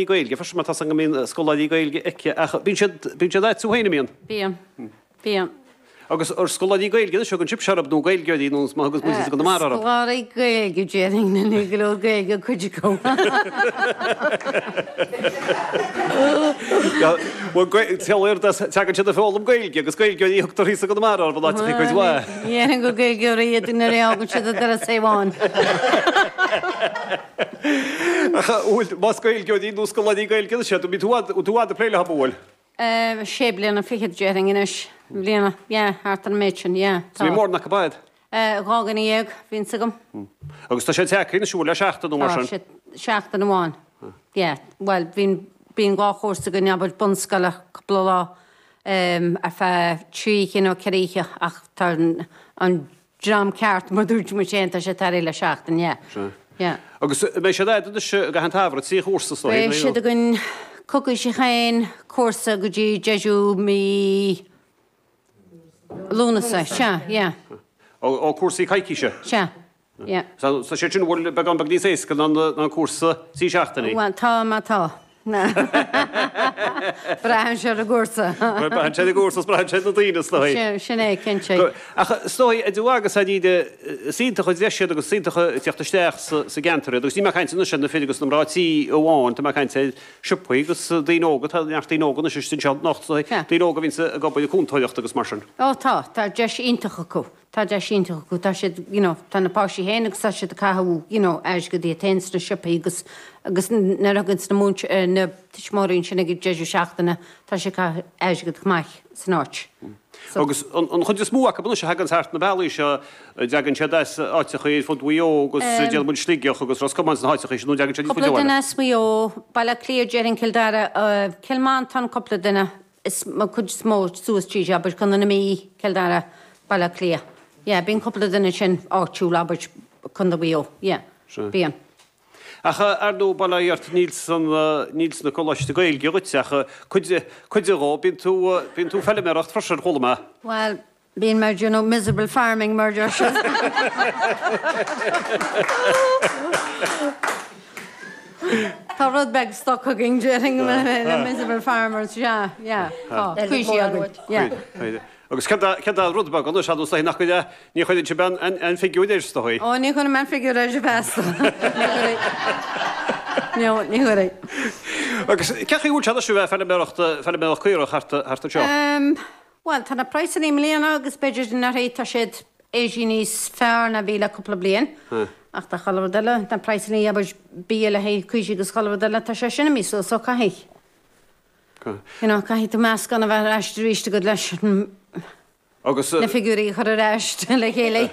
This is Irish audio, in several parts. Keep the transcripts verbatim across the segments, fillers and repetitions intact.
Gaeilge, freisin mar tá go mbíonn scoláirí Gaeilge aici ach bíonn siad bíonn siad agat féin an mbíonn. Bíonn. Bíonn. Agus ar scoláirí Gaeilge anois thugann sibhse orthu nó Gaeilgeoirí nó má thugas muid go mar orthu. Scoláirí Gaeilge déarfainn na ní go leor Gaeilge cuid acu. Teagann siad ag foghlaim Gaeilge agus Gaeilgeoirí a thugtar thíos go mar orthu in áiteachaí cuid mhaith. Dhéarfainn gur Gaeilgeoirí iad nuair a fhágann siad an doras amháin. Ach bhfuil más Gaeilgeoirí nó scoláirí Gaeilge anois iad, bhí tú tú fhad ag plé leo, bhfuil? Sé bliana fichead déarfainn anois, bliana, yeah, thart ar an méid sin, yeah, tá. Bhí mórán acu agat? Dhá dhuine dhéag bhíonns agam. Agus tá sé tagtha anois bhfuil le seachtain nó mar sin? Tá sé seachtain amháin, yeah. Bhuel, bíonn, bíonn dhá chúrsa againn, abair, bunscoile, cúpla lá ar feadh trí oíche nó ceithre oíche ach tá an dream ceart, mar dúirt muid féin, tá sé tarraingthe le seachtain, yeah. Sea. Yeah. Agus beidh siad agat anois i gcaitheamh an tsamhraidh, trí chúrsa is dóigh, Beidh siad againn coicís chaon chúrsa go dtí deireadh mí Lúnasa, sea, yeah. Ó, ó cúrsaí coicíse? Sea, yeah. Tá sé sin bhfuil beagán beag níos éasca ná an cúrsa trí seachtainí? Bhuel, tá má tá. Braitheann sé ar an gcúrsa. Braitheann sé ar an gcúrsa is braitheann sé ar na daoine is dóigh. Sin é, cinnte. Ach is dóigh, a Joe agus a Íde, is iontach an deis iad agus is iontach ag teacht isteach sa gceantar iad. Agus níl mé ag caint anois ar na fir agus na mná tí amháin, tá mé ag caint ar siopaí agus daoine óga, tá neart daoine óga anois istigh anseo anocht, is dóigh, daoine óga a bhíonns ag obair ag cúntóireacht agus mar sin. Ó tá, tá deis iontach acu. Tá deis iontach acu, tá siad, you know, tá na páistí féin agus tá siad ag caitheamh, you know, airgead iad féin sna siopaí agus, agus nuair a thaganns na múinte-, na tuismitheoirí ansin ag an deireadh seachtaine, tá siad ag caitheamh airgead chomh maith san áit. So. Agus an, an chuid is mó acu anois a thaganns thart na bealaí seo, an dtagann siad as áiteachaí ar fud Mhaigh Eo agus déarfaidh muid Sligeach agus Ros Comáin sna háiteachaí sin nó an dtagann siad níos faide Cúpla abhaile? duine as Maigh Eo, Baile Átha Cliath, déarfainn Cill Dara, Cill Mhantáin cúpla duine, is an chuid is mó suas tríd, abair, Contae na Mí, Cill Dara. Baile Átha Cliath. Yeah, bíonn cúpla duine ansin áitiúil, abair, Contae Mhaigh Eo. Yeah. Sea. Bíonn. Ach ar ndóigh, bail ó Dhia ort, níl san, níl sna coláiste Gaeilge dhuit ach cuid, cuid dhó. Bíonn tú, bíonn tú ag feilméaracht freisin, chuala mé. Bhuel, bíonn mé ag déanamh miserable farming mar a deir siad. Tá rud beag stoc againn, déarfainn, na miserable farmers, yeah, yeah, tá, cuid againn, yeah. Agus céard é an rud beag anois, ar ndóigh, nach gcuir, ní chuireann sibh aon figiúir air, is dóigh? Ó, ní chuirim aon figiúr air feasta. Ní chuirfidh. No, ní chuirfidh. Agus cén chaoi a bhfuil sé anois a bheith ag feilméaracht, feilméaracht caorach thart, thart anseo? Bhuel, tá na praghsanna i mbliana agus b'fhéidir anuraidh, tá siad éirithe níos fearr ná bhí le cúpla bliain. Ach tá chuile rud eile, na praghsanna, abair, bia le haghaidh caoirigh agus chuile rud eile, tá sé sin imithe suas, so caithfidh. You know, caithfidh tú meascán a bheith ar ais arís agat leis Agus na figiúirí a chur ar ais le chéile.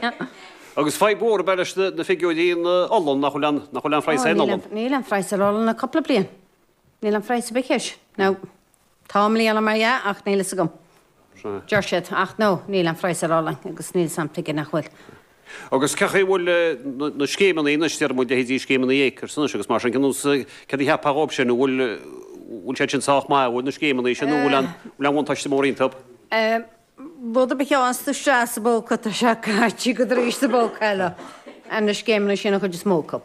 Agus fadhb mhór ab ea leis na figiúirí in olann, nach bhfuil an, nach bhfuil aon phraghas ar an olann. Níl aon phraghas ar olann le cúpla bliain. Níl aon phraghas ar bith air. Now, tá i mbliana mar dhea ach níl fhios agam. Deir siad, ach no, níl aon phraghas ar olann agus níl 'fhios a'm tuige nach bhfuil. Agus cén chaoi a bhfuil na scéimeanna anois, déarfaidh muid, leithéidí scéimeanna Acres anois agus mar sin, cén nós, céard a cheapfá dhóibh sin, an bhfuil, bhfuil siad sin sách maith, an bhfuil na scéimeanna sin, nó an bhfuil aon, bhfuil aon bhuntáiste mór iontu? Rud ar bith a gheobhanns tú isteach sa bpóca, tá sé caite agat arís sa bpóca eile, ar na scéimeanna sin an chuid is mó acu.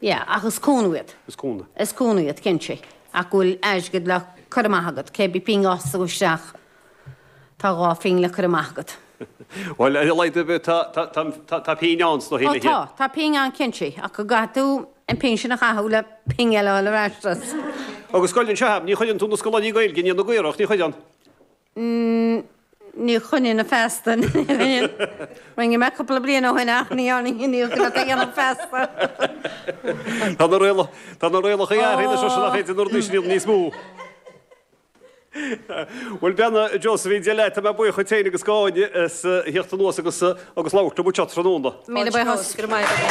Yeah, ach is cúnamh iad. Is cúnamh. Is cúnamh iad, cinnte. Ach go bhfuil airgead le cur amach agat, cé bith pingin a fhaigheas tú isteach, tá dhá phingin le cur amach agat. Bhuel, ar a laghad ar bith, tá pingin ann sna Ó tá, tá pingin ann cinnte, ach go gcaithfidh tú an pingin sin a chaitheamh le pingin eile a fháil ar ais as. Agus goil anseo, ní chuireann tú na scoláirí Gaeilge i ndiaidh na gcaorach, ní chuireann? Ní choinneoinn feasta. Rinne mé cúpla bliain ó shin ach ní ní dhéanfainn feasta. Tá na rialacha athraithe anois nach féidir na rudaí sin a dhéanamh níos mó. Bhuel, bean Josephine, Dia leat, tá mé buíoch dhuit féin agus d'Áine as theacht anuas agus agus labhairt liom anseo tráthnóna. Míle buíochas. Go raibh maith agat.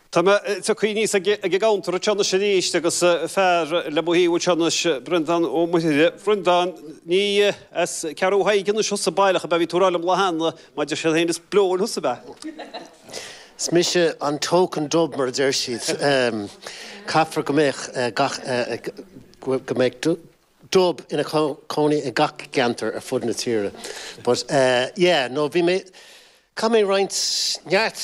Tá mé tagtha aníos ag an gcounter anseo anois arís agus fear le mo thaobh anseo anois, Breandán Ó Muirthile. Bhreandáin, ní as Ceathrú Thaidhg anois thusa baileach ab ea? Bhí tú ag rá liom lá cheana, mar deir siad féin is bleoin thusa ab ea? Is mise an token dub mar a deir siad. Caithfear go mbeadh gach, go mbeadh dub ina cónaí i gach ceantar ar fud na tíre. But yeah, no bhí mé, Chaith mé roinnt neart